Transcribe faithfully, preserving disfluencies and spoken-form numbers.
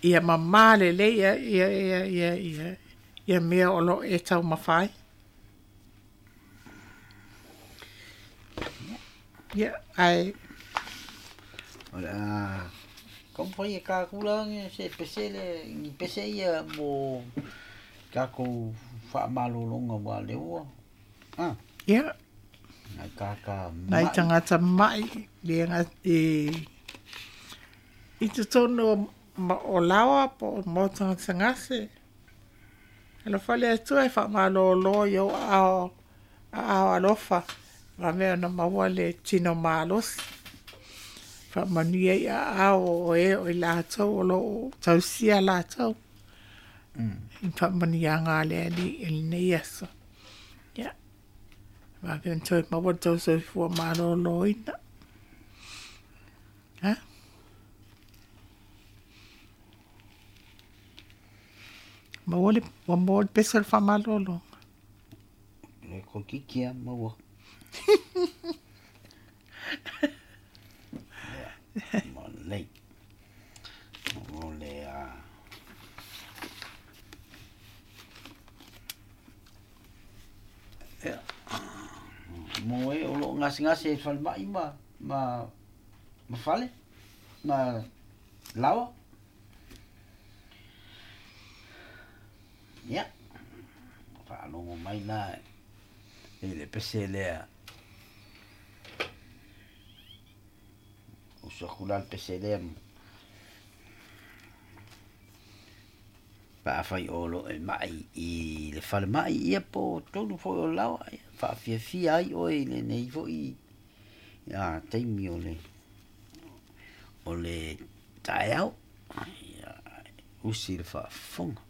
Ia mamā lelei ia ia ia ia ia ia mea o lo o e taumafa ai. Ia, ae O le a taumafai e kakula se pese le ni pese ia mo tatou faamalologa ua lea ua a ia nai tagata nai ma'i tagata ma'i le i i totonu o Laoa po o maota gasegase. Alofa le Atua e faamalolo i ou aao aao alofa vave ona maua le tino malosi. Faamanuia i aao o e o i latou o lo o tausia latou. I faamanuiaga a le Alii i lenei aso. Ia, vave ona toe maua le tou soifua maloloina. Ha? Maua le, ua maua le pese o le faamalologa. Le toeitiiti lava maua. Ia, ma lelei. O le a ia mo e o lo o gasegase i le falemai ma ma ma fale ma laoa. Ia, faalogo mai la i le pese lea. Usu atu la le pese lea pe afai o lo o e mai i le falemai ia po o totonu foi o le laoa, ia faafiafia ai oe i lenei foi a taimi o le o le taeao. Ia, usi le faafofoga.